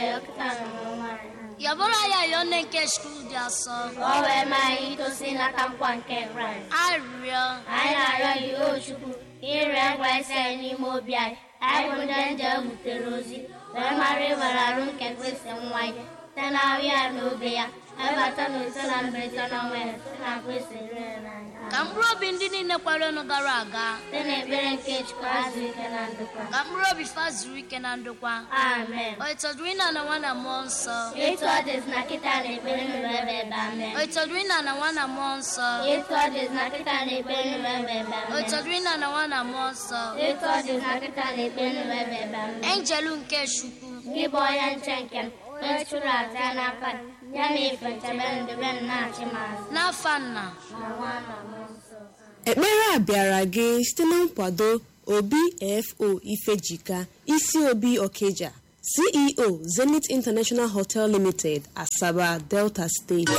ayọ kịta na n'ọnwa anyị. Yabụrụ ya yọọ nne nke Chukwu dị asọ. Ka ọ wee maa anyị itosi nata nkwa nke Kraịst. Arịrịọ. Anyị na-arịọ gị, o Chukwu, ka ị rịọ nkwa isi anyị n'ime obi anyị. Anyị bụ ndị nje butere ozi, wee mara ịwere arụ nke Kristi nwa ya, site n'ahụ ya na obe ya, webata na ise na mberede na ọnwa ya, site na Kristi rere n'anya. Ka mkpụrụ obi ndị niile kwerenụ gara aga. Site n'ekpere nke Chukwu azụ ike na ndokwa. Ka mkpụrụ obi fa zuru ike na ndokwa. Amen. O ịtọdụrụ ịna na nwa na mmụọ nsọ. Etu ọ dịzị na kịta na ekpere nụrụ ebe ebe amen. O ịtọdụrụ ịna na nwa na mmụọ nsọ. Etu ọ dịzị na kịta na ekpere nụrụ ebe ebe O amen. ịtọdụrụ ịna na nwa na mmụọ nsọ. Etu ọ dịzị na kịta na ekpere nụrụ ebe ebe amen. Enjelu nke Chukwu. Gị bụ onye nche nke m, onye chụrụ aja n'aka gị, ya na ife nchebe ndebe m na-achị m azụ. N'afa nna. Na nwa na mmụọ nsọ. Ekpere a bịara gị site na nkwado Obi F.O. Ifejika, Isi Obi Okija, CEO, Zenith International Hotel Limited, Asaba, Delta State.